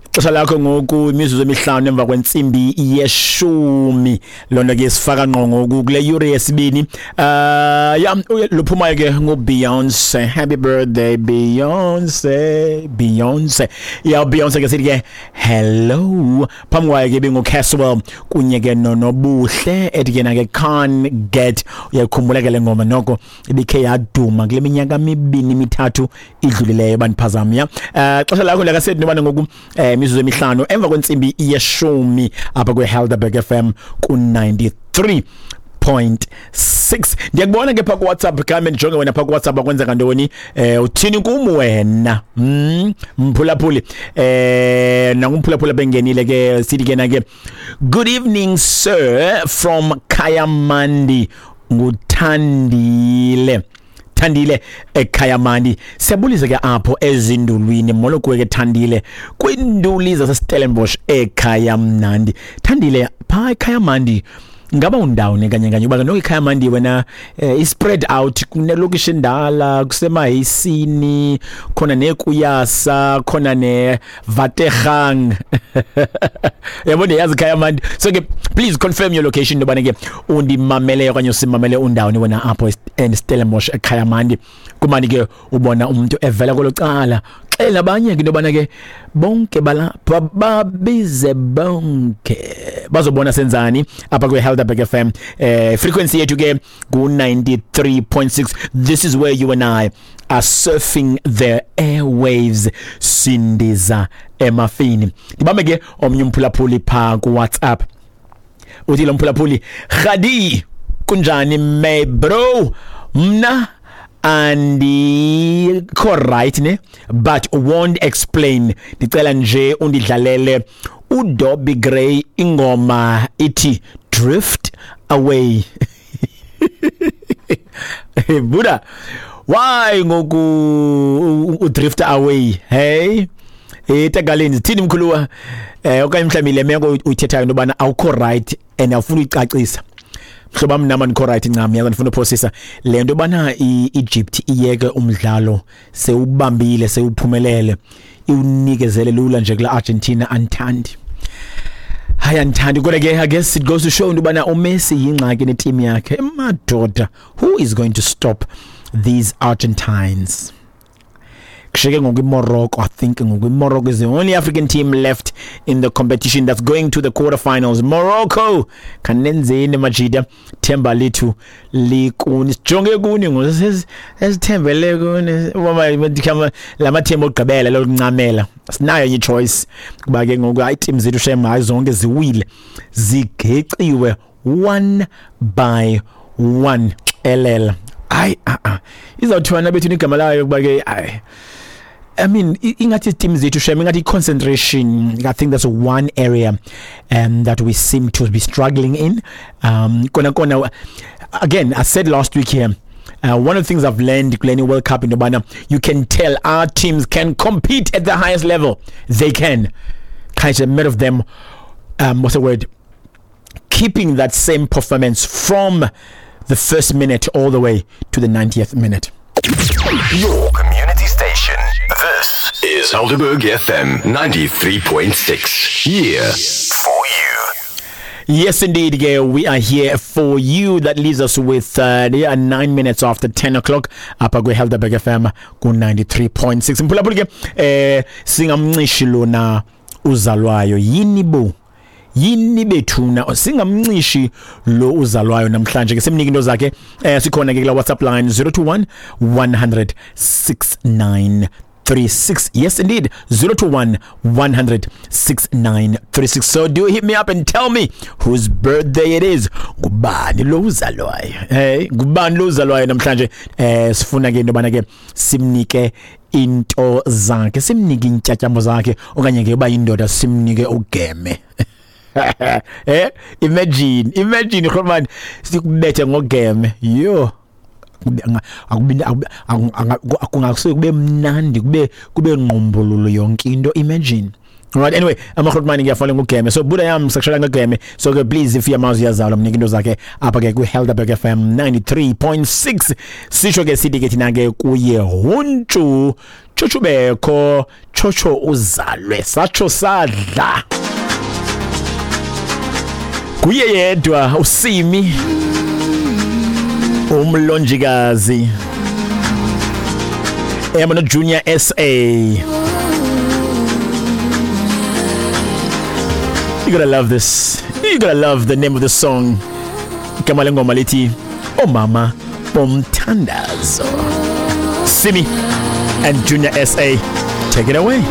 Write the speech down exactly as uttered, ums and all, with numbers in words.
Ixesha lakho ngoku imizuzu emihlanu emva kwentsimbi yeshumi. Loo nto ke sifaka ngqo ngoku kule yure yesibini. Uh ya, luphumayo ke nguBeyonce. Happy birthday, Beyonce, Beyonce. Ya, Beyonce ke sithi ke hello. Phambi kwayo ke benguCaswell kunye ke noNobuhle, ethi ke na ke "Can't Get". Uyayikhumbula ke le ngoma, noko ibikhe yaduma kule minyaka mibini mithathu idlulileyo, bandiphazama ya. Eh xesha lakho lakasethi nobana ngoku eh imizuzu emihlanu emva kwentsimbi yeshumi apha kwe-Helderberg F M ku-ninety-three point six. Ndiyakubona ke phaa kuWhatsApp. Khame ndijonge wena phaa kuWhatsApp, akwenzeka ntoni? eh uthini kum wena? mm, mphulaphuli eh nangumphulaphuli bengenile ke, sithi ke na ke, "Good evening, sir, from Kayamandi." Nguthandile, Thandile eKhayamandi. Siyabulisa ke apho ezindulwini. Molo kuwe ke, Thandile, kwinduli zaseStellenbosch eKhayamnandi. Thandile, phaa eKhayamandi ngaba undawoni kanye kanye? Uba noko iKhayamandi wena eh, i-spread out, kunelokishi endala, kusemaheyisini khona, nekuyasa khona, neVategang, yabona, yazi Khayamandi. So ke please confirm your location, intobana ke undimamele okanye usimamele undawoni wena apho eStellenbosch eKhayamandi. Kumani ke ubona umuntu evela kwelo cala, xela abanye ke intobana ke bonke balapha, babize bonke bazobona senzani apha kwe-Helderberg F M. eh frequency yethu ke ku-ninety-three point six. This is where you and I are surfing the airwaves, sindiza emafini. Ndibambe ke omnye umphulaphuli phaa kuWhatsApp. Uthi lo mphulaphuli, "Khadi, kunjani my bro? Mna andikho right ne, but won't explain. Ndicela nje undidlalele uDobby Gray, ingoma ithi 'Drift Away'." Buda, why ngoku udrift away? Hey, etagaleni thini mkhuluwa? eh okanye mhlawumbi le meko uyithethayo into yobana awukho right and awufuna uyicacisa. Mhlobo wam, nama ndikho right ncam, yaza ndifuna uphosisa le nto yobana i-Egypt iyeke umdlalo sewubambile, sewuphumelele, iwunikezele lula nje kula Argentina. Andithandi, hayi, andithandi. Kodwa ke I guess it goes to show into yobana uMessi yingxaki neteam yakhe. Emadoda, who is going to stop these Argentines? Kushiyeke ngoku iMorocco. I think ngoku iMorocco is the only African team left in the competition that's going to the quarterfinals. Morocco, khanenzeni majida, themba lethu likuni, sijonge kuni ngoku, esithembele kuni. La mathemba okugqibela lokuncamela, sinayo enye choice kuba ke ngoku hayi, team zethu shem, hayi, zonke ziwile, zigeciwe one by one. Xelela, hayi, a a izawuthiwa nabethu igama layo kuba ke hayi, I mean, ingathi team zethu shem, ingathi concentration. I think that's one area um, that we seem to be struggling in. um kona kona again, I said last week here, Uh, one of the things I've learned kule World Cup in Obana, you can tell our teams can compete at the highest level. They can. Kind of matter of them, um, what's the word? Keeping that same performance from the first minute all the way to the ninetieth minute. Your community station. This is Helderberg F M ninety-three point six. Here for you. Yes, indeed, Gail. We are here for you. That leaves us with uh, yeah, nine minutes after ten o'clock. Apha kwi-Helderberg F M ku-ninety-three point six. Mphulaphuli ke, eh singamncishi lona uzalwayo. Yini bo? Yini bethuna, singamncishi lo uzalwayo namhlanje ke, simnike into zakhe. eh sikhona ke kula WhatsApp line zero two one one hundred six nine three six. Yes, indeed, zero two one one hundred six nine three six. So do hit me up and tell me whose birthday it is. Ngubani lo uzalwayo? Hey, ngubani lo uzalwayo namhlanje? eh sifuna ke into bana ke simnike into zakhe, simnike intyatyambo zakhe, okanye ke uba indoda simnike ugeme. eh imagine imagine man, sikubethe ngogeme. Yo, akubi akungasuke kube mnandi, kube kube ngqumbululu yonke into. Imagine. Right, anyway, amagrotman ngiyafana ngugeme. So buda yami, sakushela ngegeme. So ke please, if uyamazi uyazalwa, mnike into zakhe apha ke kwi-Helderberg F M ninety-three point six. Sisho ke sithi ke thina ke kuye huntshu, chuchubekho. Tshotsho uzalwe satsho sadla. Kuye yedwa uSimi umlonjikazi Emano Junior S A. You gotta love this. You gotta love the name of the song. Igama lengoma lithi Omama Bomthandazo. Simi and Junior S A, take it away.